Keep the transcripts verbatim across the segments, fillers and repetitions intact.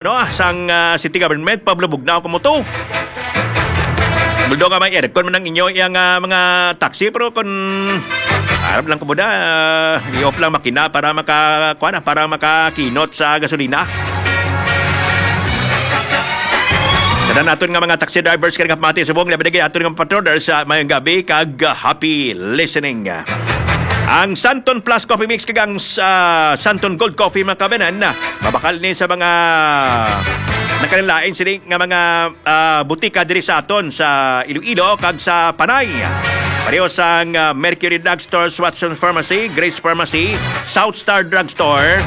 no, sang, ah, city government, Pablo Bugnao, kumuto. Although nga may aircon man ang inyo, iyang, ah, mga taxi, pero kung arap lang kamo da, ah, i-off lang makina para maka, kuwan, ah, para makakinot sa gasolina. Kada naton nga mga taxi drivers kay nagapamati subong, labi na gid aton nga patrollers, ah, mayong gabi kag, ah, happy listening. Ang Santon Plus Coffee Mix kag ang, ah, Santon Gold Coffee, mga kabanan, ah, mabakal ni sa mga nagkalain sini nga mga, ah, butika diri sa aton sa Iloilo kag sa Panay. Pareho sang, ah, Mercury Drugstore, Watson Pharmacy, Grace Pharmacy, South Star Drugstore,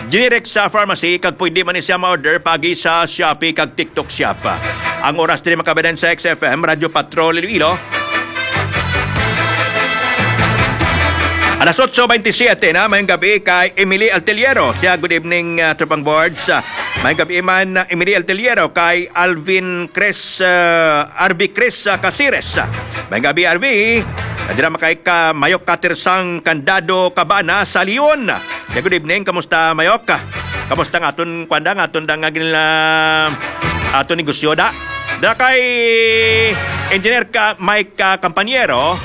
Generic sa pharmacy, kag pwede man ni siya ma-order pagi sa Shopee kag TikTok Shop. Ang oras diri, mga kabanan, sa X F M, Radyo Patrol Iloilo. Alas otso veintisiete na, mayong gabi kay Emily Alteliero. Siya, good evening, ah, Tropang Boards. Ah, mayong gabi man, ah, Emily Alteliero, kay Alvin Chris, ah, R B Chris, ah, Casires. Mayong gabi, R B. Nadira makay ka Mayok Katersang Candado Cabana sa Leon. Ya, good evening. Kamusta, Mayok? Kamusta nga aton, kwanda, nga aton da nga gin-, ah, aton negosyo da? Da kay Engineer ka, Mike, ah, Campaniero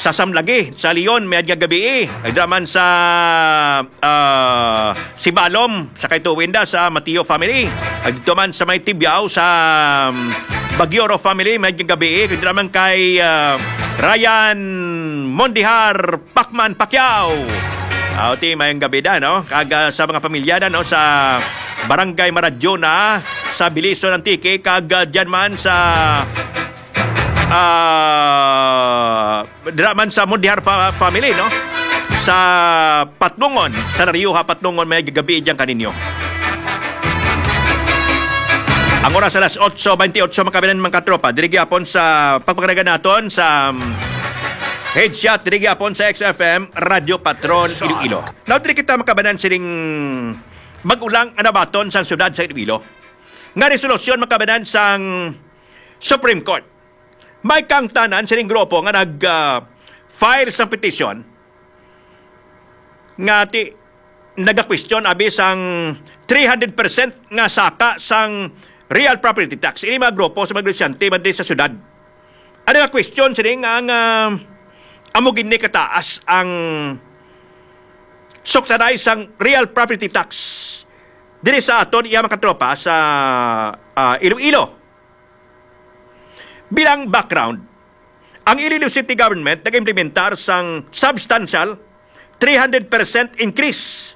sa Samlagi, sa Leon, mayad nga gabi. Nagdra man sa, ah, Sibalom, sa kay Tuwin da, sa Mateo family. Nagdra man sa may Tibiao, sa, um, Bagioro family, mayad nga gabi. Nagdra man kay, ah, Ryan Mondihar Pacman Pacquiao. Ah, ti, mayong gabi da, no? Kag, ah, sa mga pamilya da, no? Sa Barangay Maradyona, sa Belison, Antique, kag, ah, dyan man sa, ah, dira man sa Mundihar fa-, family, no? Sa Patnongon, sa Narioja, Patnongon, may gabi dyan kaninyo. Ang oras alas otso veintiocho, mga kabanan, mga katropa. Diri gyapon sa pagpakanagan naton sa, um, headshot, diri gyapon sa X F M, Radyo Patrol, Iloilo. Now, diri kita makabanan sining bag-o lang nga nabaton sang syudad sa Iloilo. Nga resolusyon makabanan sang Supreme Court. May kangtanan sining grupo nga nag, ah, file sang petisyon nga ti-, nagakwestiyon abi sang three hundred percent nga saka sang real property tax. Ini mga grupo sa mga negosyante man diri sa syudad. Ano nga question sini nga ang, ah, amo gini kataas ang subsidize sang real property tax diri sa aton iya mga katropa sa, ah, Iloilo. Bilang background, ang Iloilo City Government nag-implementar sang substantial three hundred percent increase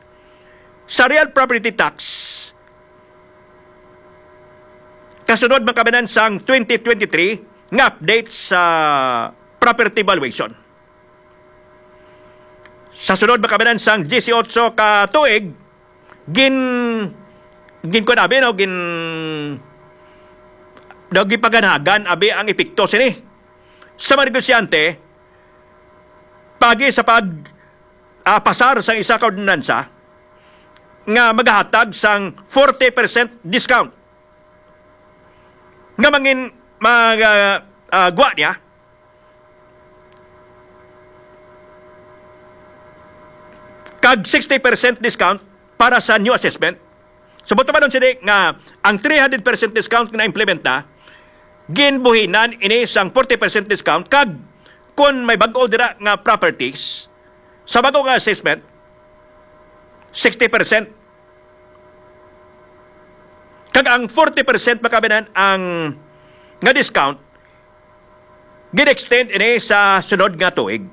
sa real property tax kasunod, mga kabanan, sang twenty twenty-three nga update sa property valuation. Sa sunod, mga kabanan, sang diyesiyotso ka tuig, gin-, ginkuan abi, no, gin-, daw gipaganhagan abi ang epekto sini sa mga negosyante pagi sa pag, ah, pasar sang isa ka ordinansa nga magahatag sang forty percent discount nga mangin-, mag-, ah, ah, gwa niya kag sixty percent discount para sa new assessment. So, buot silingon sini nga ang three hundred percent discount nga na-implement na, ginbuhinan ini sang forty percent discount, kag kung may bag-o dira nga properties, sa bag-o nga assessment, sixty percent. Kag ang forty percent, mga kabanan, ang nga discount, gin-extend ini sa sunod nga tuig.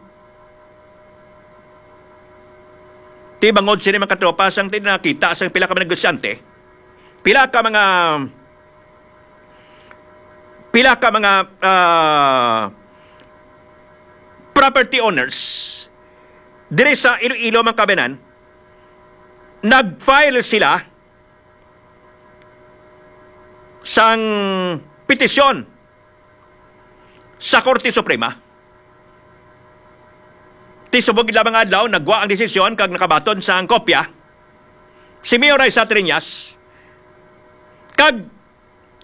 Ti bangod sini, mga katropa, sang ti nakita sang pila ka mga negosyante, pila ka mga, pila ka mga, ah, property owners diri sa Iloilo, mga kabanan, nag-file sila sang petisyon sa Korte Suprema. Ti subong gid lamang nga adlaw, nagwa ang desisyon kag nakabaton sang kopya si Mayor Raisa Triñas, kag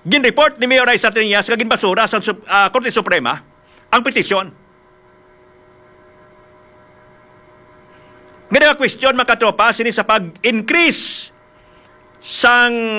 gin-report ni Mayor Raisa Triñas nga ginbasura sa Sup-, ah, Korte Suprema ang petisyon. Nga nagakwestiyon, mga katropa, sini sa pag-increase sang